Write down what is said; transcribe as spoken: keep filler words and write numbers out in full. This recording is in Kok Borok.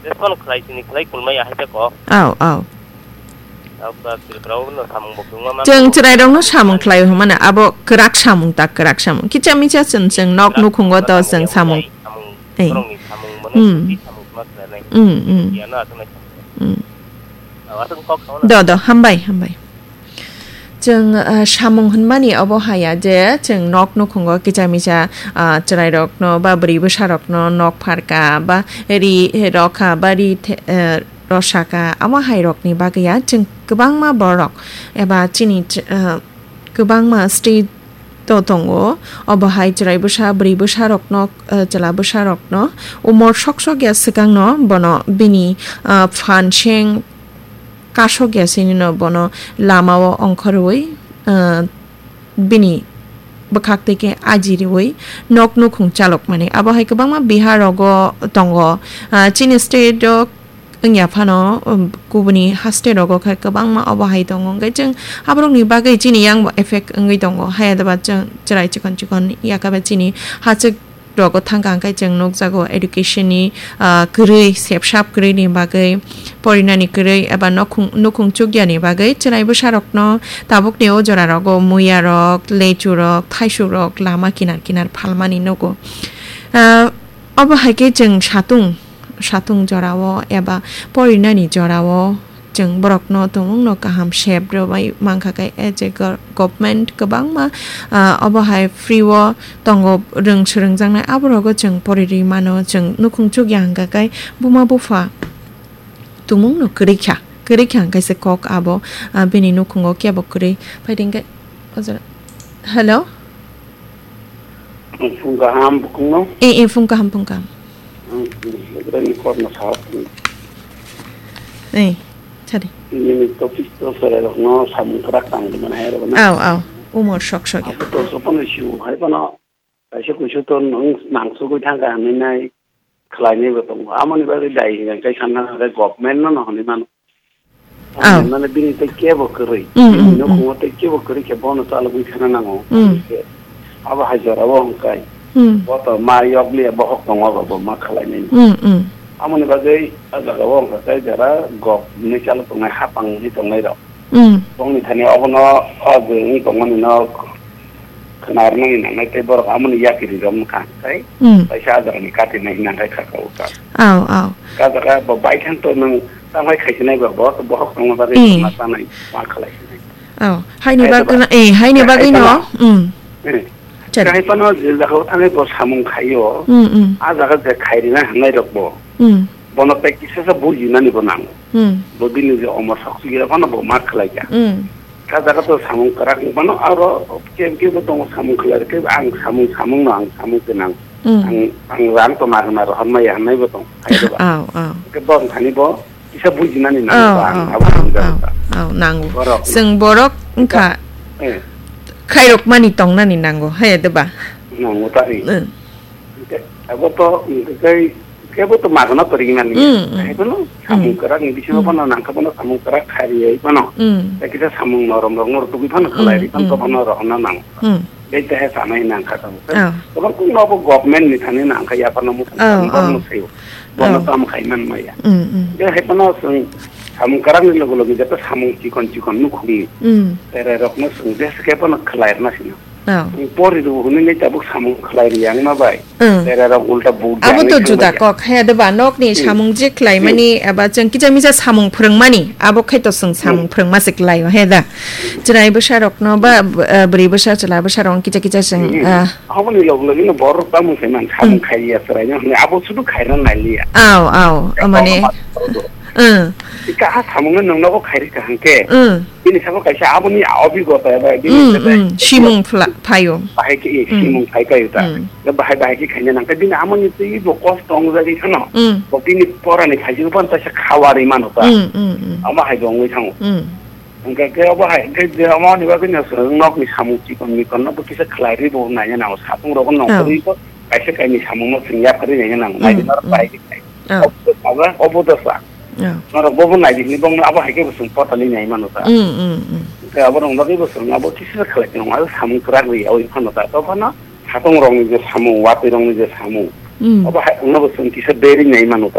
Respond khlai sini khlai kulmaya hai te ko. Au, au. Tabuk ta Tripura o no samung bo kwbangma ma Chwng tongo. Chwrairokno samung khlai hwnmano, abo kwrak samung ta, kwrak samung. Kicha micha chwng, chwng nok nukhungo to chwng samung. Samung, Ei. Borokni samung mane Hmm. Samung ma khlainai. Hmm, hmm. Yano aswk nai samung. Hmm. Aswk kok khauna. Do, do, hambai, hambai. Chwng, ah, samung hwnmani obo haya je chwng nok nukhungo kicha micha, ah, chwrairokno ba bwrwi bwsarokno nok pharka ba ri rokha ba ri the-, eh, rosaka, amo hai rokni bagwi ya chwng kwbangma borok eba chini ch-, eh, kwbangma state o tongo, obo hai chwrai bwsa, bwrwi bwsa rokno, eh, chwla bwsa rokno umor sok sok ya swkangno bono bini, eh, phan seng kasok ya sinino bono lamao ongkhorwi, eh, bini bwkhak twi khe aji riwi nok nukhung chalokmani. Abo hai kwbangma Bihar rogo tongo. Ah, chini state o wngya phano, um, kubuni ha state rogo khe kwbangma obo hai tongo. Hwnkhe chwng aborokni bagwi chini yang bo effect wngwi tongo. Hayadaba chwng chwrai chikon chikon yakaba chini hachwk rogo thangkha hwnkhe chwng nukjago education ni, ah, kwrwi, sepsap kwrwi ni bagwi, porinani kwrwi eba nokhung-, nukhung chukya ni bagwi chwrai bwsa rokno tabuk ni o jora rogo muya rok, lechu rok, thaisuk rok lama kinar kinar phalmani nugo. Ah, obo hai khe chwng satung, satung jora o eba porinani jora o chwng borokno tumungno kaham sep rwbai mankha khe, eh, je gor-, government kwbangma, ah, obo hai free o tongo, rwng swrwngjaknai, aborogo chwng poriri mano, chwng nukhung chukya hwnkha khe buma bupha tumungno kwrwi kha, kwrwi kha hwnkhe se kok abo, ah, bini nukhungo kebo kwrwi. Phaidi hwnkhe o jora, hello? Phung kaham bukhungno? Eh, eh, phung kaham, phung kaham. Ang ni korno sao. Eh, sadi. Nini topic to sere rokno samung kwrak tang di mana hai rokno. Au, au. Umor sok sok ya. Aku to sopan siu hai pano. Kaisa kuisu to nang, nang sugui thang ka hanai nai. Khlai nai bo tongo. Amoni bagwi dai hingka kai sanna hai government no no hwnwi mano. Aw. Mane bini tei kebo kwrwi. Mm, mm, Bini mm. Nukhungo tei kebo kwrwi khe bono chalogwi thana nango. Mm. Abo hai jora o hwnkhai. Mm. Bo to ma yokliya bohok tongo abo bo ma khlai nai. Mm, mm. Amoni bagwi a jaga o hwnkhai jara gok ni chalok tongnai hapang ni tongnai rok. Mm. Bongni thani obono o je wngwi tongmani no khwnarnani nangnai tei borok amoni yakiri rok wngkha tei Mm. kaisa a jagani katinai hinang khai khaka uka. Aw, aw. Ka jaga bo baithang to nwng tamo khai khaisinai ba bo to bohok tongma bagwi Mm. ma sanai ma khalai sinai. Aw, haini Hai bagwi ba- no, eh, haini Hai bagwi no. ba- Mm. Eh. Chari. Hai pano je jaga o thangwi bo samung khaio. Mm, mm. A jaga je khairina hangnai rok bo. Mm. Bono tei kisa sa bujinani bo nango. Hmm. Bo bini je omor sok sigi phano bo ma khlai kha. Hmm. Ka jaga to samung kwrak wng phano aro kem kem bo tongo samung khlai khe ang samung samung no ang samung khe nang. Hmm. Ang, ang rang to mar mar hon maya hanai bo tong. Hai do ba. Aw, aw. Ke bo thani bo kisa bujinani nango Aw, ba ang aw, abo aw, samung aw, jaga. Aw, nango. Borok. Seng borok wngkha Eh. khairok mani tongnani nango. Hai do ba. Nango ta ri. Hmm. Hingke abo to, hingke kebo to magona porinani. Mm, mm. Hai bono, samung Mm. kwrak ni bisingo Mm. bono nangkha bono samung kwrak khairiyai bono. Mm. Tei kisa samung norom rok no rwtugwi phano Mm, khlai ri phano mm. bono rohorna nang. Mm. Tei teha sanai nangkha tamo. Oh. Bono kung nobo government ni thani nangkha yaphano muchung Oh, thani bono oh. Sayo. Bono Oh. Tamo khai man maya. Mm, mm. Tei hai bono chwng samung kwrak ni logo logo jeta samung chikon chikon nukhungni. Mm. Tere rok no chwng jesa khe bono khlai rwna sino. Oh. Pori rw hwnwi nai tabuk samung khlai ri yang ma bai. Hmm. Tere rok ulta bu Abo to gyang juda thangbai kok, he de ba, nokni Hmm. samung je khlai Hmm. mani, aba chwng kicha micha samung phwrwng mani, abo khai to chwng samung Hmm. phwrwng ma se khlai o, he da. Chwrai bwsa rok no ba, b-, ah, bwrwi bwsa, chwla bwsa rok kicha kicha chwng, Hmm. ah. Aboni log log no bor rok tamo se man samung Hmm. khai ya chwrai no hwnwi abo sudu khai rw nai liya. Aw, aw, Abo mane. ma Hmm. Ika ha samung no nung nogo khai ri kaham khe. Hmm. Bini sabo kaisa aboni obigota eba bini Hmm, sabo hmm. Simung phla-, phaio. Bahai khe, eh, Hmm. simung phai kaio ta. Hmm. Da bahai, bahai khe khaina nang khe bini amoni twi bo kosto ong jagwi khano. Hmm. Bo bini porani phaijak ban ta se khawari mano ta. Hmm, hmm, hmm. Ama hai bo ongwi thango. Hmm. Hingke khe obo hai, hingke je omo ni bagwi no chwng nokni samung chikon mikon no bo kisa khlai ri bo nai nang sapung rok no Oh. kwrwi bo kaisa kaini samung no chwng yaphari nai nang. Hmm, Nai hmm. Bai khe. Oh. Obo to sa. Oh. Norok bobo nai di hwnwi bongno abo hai khe bo chwng portali nai mano ta. Mm, mm, mm. Tei abo rok bagwi bo chwng abo kisa khlai tong abo samung kwrak ri yawi phano ta. To phano satung rok ni je samung, watwi rok ni je samung. Mm. Abo hai no bo chwng kisa beri nai mano ta.